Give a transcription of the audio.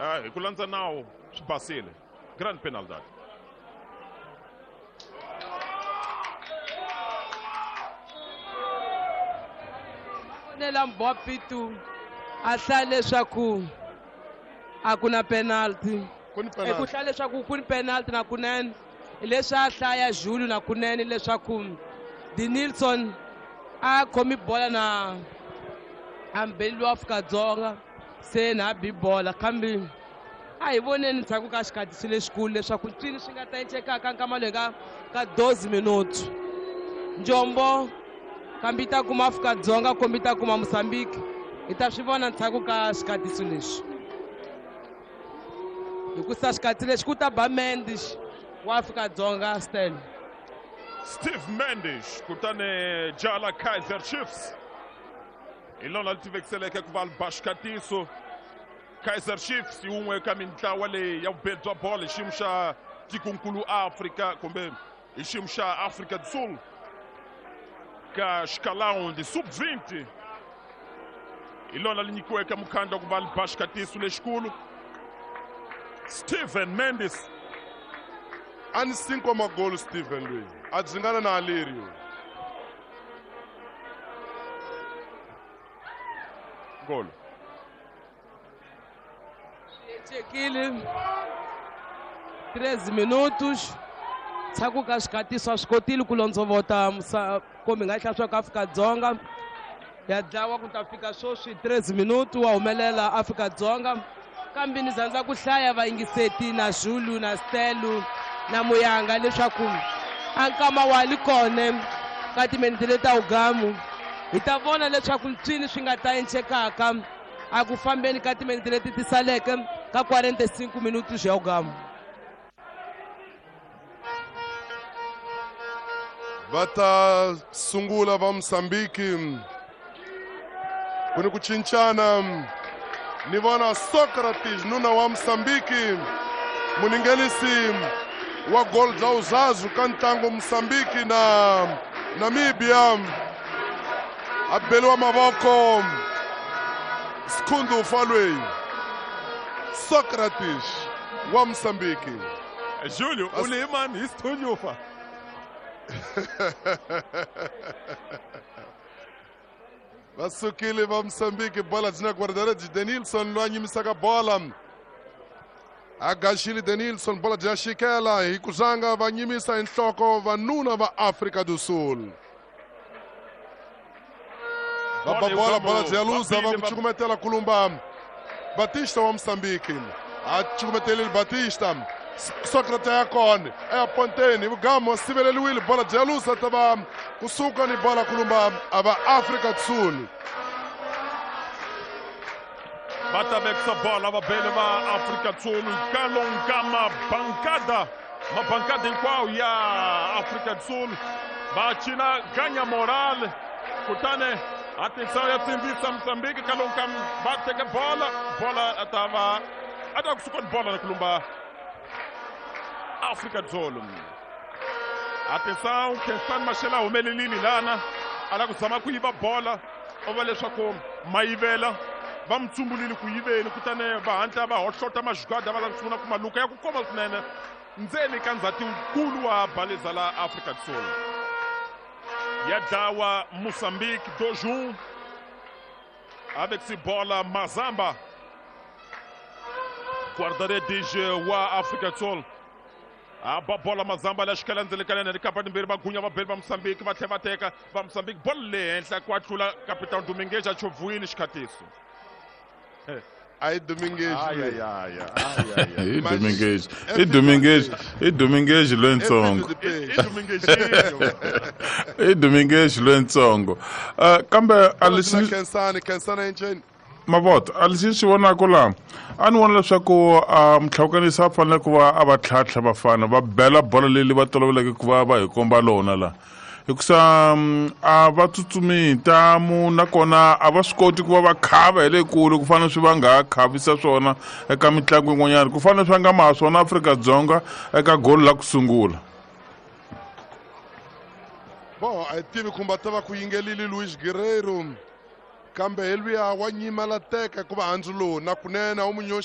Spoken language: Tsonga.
Hi ku landza nawu swi basile. Grand penalidade. Fonela Mbopitu a hlaya leswaku a ku na penalty. Ku ni Ku penalty. hlaya leswaku ku ni penalty na kunene. Leswi a hlaya Julu na kunene leswaku Denilson a khomi bola na ambeli wa Afrika-Dzonga se na bi bola kambe a hi voneni ndzhaku ka xikhatisi lexikulu leswaku ncini swi nga ta encekaka nkama loyi ka 12 minuti. Njombo kambe yi ta kuma Afrika-Dzonga kumbe yi ta kuma Mozambique, hi ta swi vona ndzhaku ka xikhatisi lexi. Hikusa xikhatsi lexi ku ta ba Mendes wa Afrika-Dzonga Stan. Steve Mendes kutani jala Kaizer Chiefs hi lona li tivekiseleke ku va li ba xikatiso. Kaizer Chiefs yi wun'we ka mintlawa leyi ya vubedi bya bolo hi xiyimo xa tikonkulu Afrika kumbe hi xiyimo xa Afrika do Sul ka xikalaundi sub-20 hi lona li nyikiweke mukhandla ku va li ba xikatiso lexikulu. Steven Mendes a ni 5 magolo Steven loyi a dzingana na Alirio. Golo. Chekile 13 minutos ndzhaku ka xikatiso a swi kotile ku londzovota kumbe nga hlaya swa Afrika-Dzonga ya dlawa ku ta fika sweswi 13 minutos wa humelela Afrika-Dzonga kambe ni zandza ku hlaya vayingiseti na Zulu na Stelu na Muyanga leswaku a nkama wa li kone ka timinete leti ta ugamu hi ta vona leswaku ntswini swi nga ta encekaka a ku fambeni ka timinete leti ti saleke ka 45 minutos ya ugamu. Va ta sungula va Mozambique ku ni ku cincana ni vona Socrates nuna wa Mozambique muningenisi wa goal bya uzazu ka ntlangu Mozambique na Namibia a beliwa mavoko Sikhundu Falwei Socrates wa Mozambique. Julio u lehe mani hi Sithundufa. Va sukile va Mozambique bola byi na guarda-redes Denilson loyi a nyimisaka bola a gaxile Denilson bola byi ya xikela hi ku zanga va nyimisa hi nhloko vanuna va Afrika do Sul. Va ba bola bola byi ya luza va ku cukumetela kulumba Batista wa Mozambique a cukumetelile Batista Socrates ya kona eya ponteni vugamu siveleliwile bola byi ya luza ta va kusuka ni bola kulumba a va Afrika do Sul. Va ta vekisa bola va bele va Afrika do Sul kalonga mabankada mabankada hinkwawo ya Afrika do Sul va cina ganya moral kutani a tisa ya tsindzisa Mozambique kalonga va teke bola bola a ta va a ta kusuka ni bola na kulumba Afrika do Sul. Atenção, Khensani Mashele a humelelile lana a lava ku zama ku yiva bola u va leswaku mayivela va mi tsumbulile ku yiveni kutani va hatla va hohlota majugada va lava ku sungula ku maluka ya ku koma swinene ndzeni ka ndzhati wukulu wa baleza la Afrika do Sul. Ya dlawa Mozambique 2-1 avec bola Mazamba guarda-redes wa Afrika do Sul. A ba bola Mazamba la xikela ndzeni ka yena likapa timbirhi va gunya va beli va Mozambique va tlhela va teka va Mozambique bolo le henhla ku tlula Capitão Domingues a chovhuwile xikhatiso. Ai Domingues. Ai ai ai ai ai. I Domingues, i Domingues, i Domingues lwentsongo. I Domingues. I Domingues lwentsongo. Kambe a lexi Khensani, Khensani enceni. Mavota a lexi xi vonaka laha a ni vona leswaku mutlhawukanisi a fanele ku va a va tlhantlha vafana va bela bolo leyi va toloveleke ku va va hi komba lona laha hikusa a va tsutsumi hi ntamu nakona a va swi koti ku va va khava hi le kule ku fana swi va nga khavisa swona eka mitlangu yin'wanyana ku fana swi va nga maha swona Afrika-Dzonga eka golo la ku sungula. Bo a hi tivi kumbe ta va ku yingelile Luis Guerreiro kambe hi luya wa nyimela teka hikuva handzu lowu na kunene a wu mu nyoxi.